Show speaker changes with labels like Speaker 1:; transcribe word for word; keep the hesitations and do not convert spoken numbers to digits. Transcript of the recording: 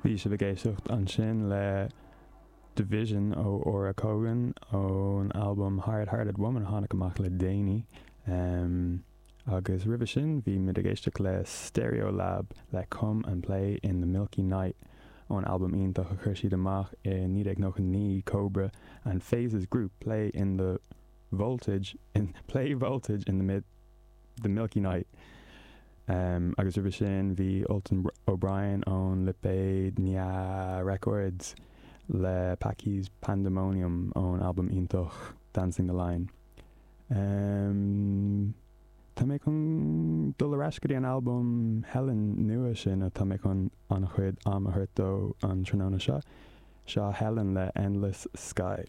Speaker 1: Bhí sibh ag éisteacht ansin le Division ó Ora Cogan ón albam Hard Hearted Woman a tháinig amach le déanaí. Um, agus roimhe sin bhí muid ag éisteacht le Stereolab le Come and Play in the Milky Night ón albam iontach a chuir siad amach i naoi déag nócha naoi Cobra and Phases Group Play in the Voltage in Play Voltage in the Mid the Milky Night. Um, agus roimhe sin bhí Ultan O'Brien ón lipéad Nya Records le Packy's Pandemonium ón albam iontach Dancing the Line. Um, tá mé chun dul ar ais go dtí an albam Helen nua sin atá mé chun an-chuid am a thabhairt dó an tráthnóna seo, seo Helen le Endless Sky.